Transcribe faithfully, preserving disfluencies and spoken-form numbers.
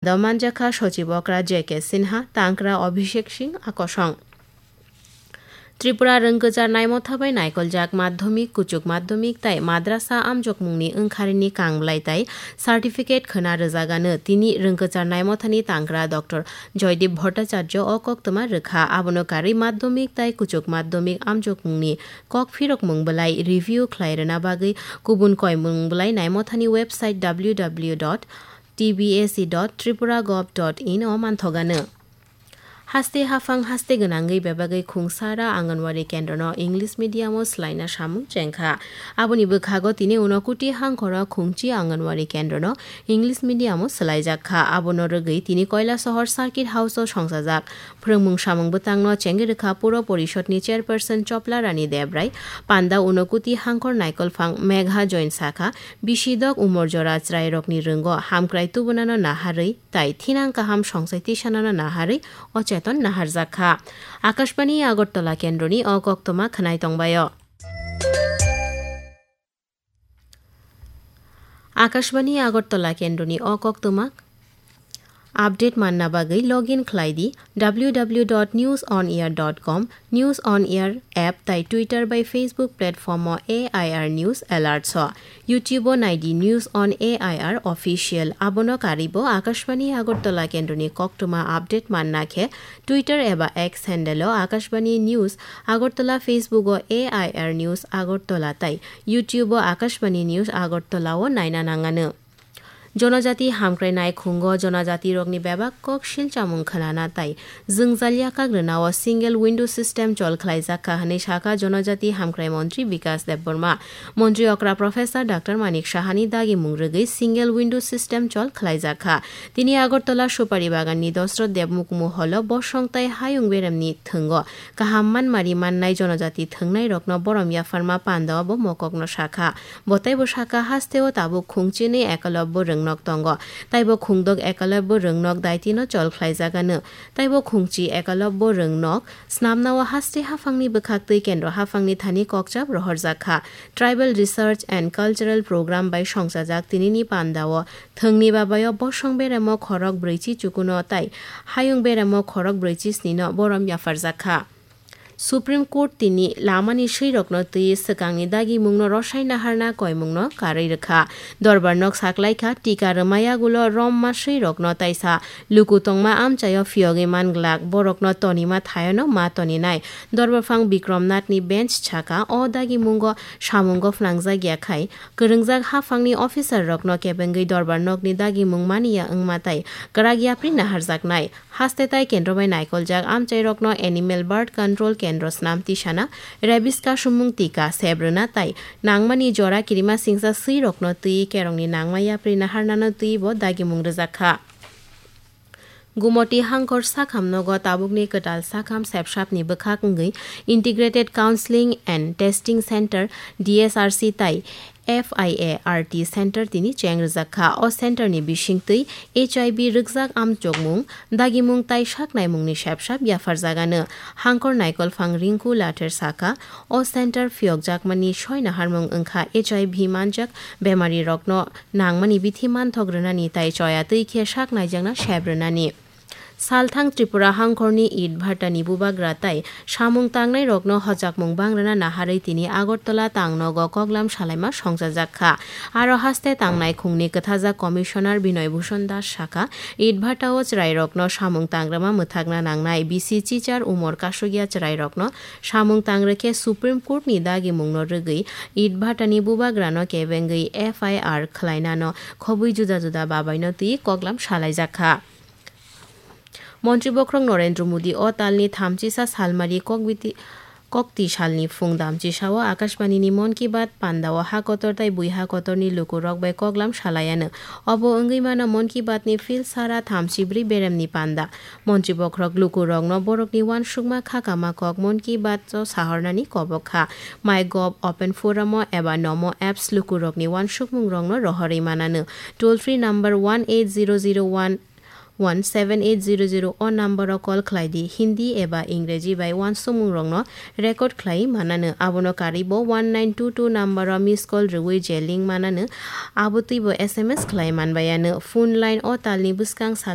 Domanjakha Sochib Okra J K Sinha, Tangkra Abhishek Singh, Akosong. Tripura rwngkwchar naimotha bai naikoljak madhyamik, kuchuk madhyamik tai madrasa amjokmungni wngkharini kangblai tai certificate khwna rwjagano. Tini rwngkwchar naimothani tangkra Doctor Joydeep Bhattacharya o koktwma rwkha. Abono karwi madhyamik tai kuchuk madhyamik amjokmungni kok phirokmung bwlai review khlai rwna bagwi kubun koimung bwlai naimothani website W W W dot T B S E dot tripura gov dot in o manthogano. Haste haphang haste gwnangwi bebagwi khungsara Anganwadi kendrono English medium o swlaina samung chengkha. Aboni bwkhago tini Unakoti hangkhoro khungchi Anganwadi kendrono English medium o swlaijakha. Abono rwgwi tini Koilasohor Circuit House o songchajak phwrwngmung samung bwtangno chengwi rwkha Puro Porishodni chairperson Chopla Rani Debrai. Panda Unakoti hangkhor naikolphang Megha Join sakha, bisi dok umor jora chwrairokni rwngo hamkrai tubunano naharwi tai thinang kaham songchai tisanano naharwi o cheton naharjak kha. Akashbani Agartala kendroni o koktwma khwnai tongbaio. Akashbani Agartala kendroni o koktwma update manna bagwi login khlai di W W W dot news on air dot com, News on Air app tai Twitter bai Facebook platform o A I R News Alerts o. YouTube o nai di News on A I R Official. Abono karwi bo Akashbani Agartala kendroni koktwma update manna khe Twitter eba X handle o Akashbani News Agartala, Facebook o A I R News Agartala tai YouTube o Akashbani News Agartala o naina nangano. Jonojati hamkrai naikhungo jonojatirokni bebak kok silchamung khwnana tai jwngjal yakhak rwnao single window system chol khlaijak kha hwnwi sakha Jonojati hamkrai montri Bikas Debbarma. Montri okra Professor Doctor Manik Sahani dagimung rwgwi single window system chol khlaijak kha. Tini Agartala Supari Baganni Dosrot Debmukmu holo bosong tai hayung beremni thwngo kaham manmari mannai jonojati thwngnairokno borom yapharma pandao bo mokokno sakha. Bo taibo sakha, hasteo tabuk khungchini Ekalobbo rwngnok tongo. Taibo khungdok Ekalobbo rwngnok daitino chol khlaijagano. Taibo khungchi Ekalobbo rwngnok snamnao haste haphangni bwkhaktwi kendro haphangni thani kokchap rohorjak kha. Tribal Research and Cultural Program bai songchajak tinini pandao thwngni babaio bosong beremo khorok brwichi chukuno tai hayung beremo khorok brwichi snino borom yapharjak kha. Supreme Court tini lamani swirokno twi swkangni dagimungno rwsai naharna koimungno karwi rwkha. Dorbar nok saklaikha, tika rwmai yagulo romma swirokno taisa luku tongma amchaio phiyogwi manglak, borokno tonima thaiono ma toninai. Dorbarphang Bikrom Nathni bench saka o dagimungo samungo phnangjak ya khai, kwrwngjak haphangni officer rokno kebengwi dorbar nokni dagimung maniya wngma tai kwrak yapri naharjaknai. Haste tai kendro bai naikoljak amchairokno animal birth control kendro snam tisana, rabies kasumung tika sep rwna tai nangmani jora kirima singsa swirokno twi kerongni nangma yapri naharnano twi bo dagimung rwjak kha. Gumoti hangkor sakham nogo tabukni kwtal sakham sepsapni bwkhak wngwi Integrated Counseling and Testing Center, D S R C, tai F I A R T center tini cheng rwjak kha. O center ni bisingtwi H I V rwkjak amchokmung, dagimung tai saknaimungni sepsap yapharjagano. Hangkor naikolphang Rinku Lather sakha, o center phiyokjakmani soi naharmung wngkha H I V manjak bemarirokno nangmani bithi manthok rwnani tai choya twi khe sak naijakna sep rwnani. Salthang Tripura hangkhorni Itbhatani bubagra tai samung tangnairokno hojakmung bangrwna naharwi tini Agartala tangnogo koklam salaima songchajak kha. Aro haste tangnai khungni kwthajak Commissioner Binoy Bhushan Das sakha, Itbhatao chwrairokno samung tangrwma mwthakna nangnai, bisi chichar umor kasugya chwrairokno samung tangrwkhe Supreme Courtni dagimungno rwgwi Itbhatani bubagrano kebengwi F I R khwlainano khobwi juda juda babaino twi koklam salaijak kha. Montri bokhorok Narendra Modi o talni thamchisa salmari kokbiti-, kokti salni phung damchisao Akashbanini Mon Ki Baat pandao ha kotor tai bui ha kotorni lukurok bai koklam salaiano. Obo wngwi mano Mon Ki Baatni phil sara thamchibrwi beremni panda. Montri bokhorok lukurokno borokni uansukma khakama kok Mon Ki Baat o sahornani kobok kha. MyGov, Open Forum o eba Nomo apps lukurokni uansukmungrokno rohorwi manano. Toll free number one eight zero zero one one seven eight zero zero o number o call khlai di. Hindi eba Ingreji bai uansukmung rokno record khlai manano. Abono karwi bo one nine two two number o miss call rwui je link manano, abo twi bo S M S khlai manbayano. Phone line o talni bwskang sal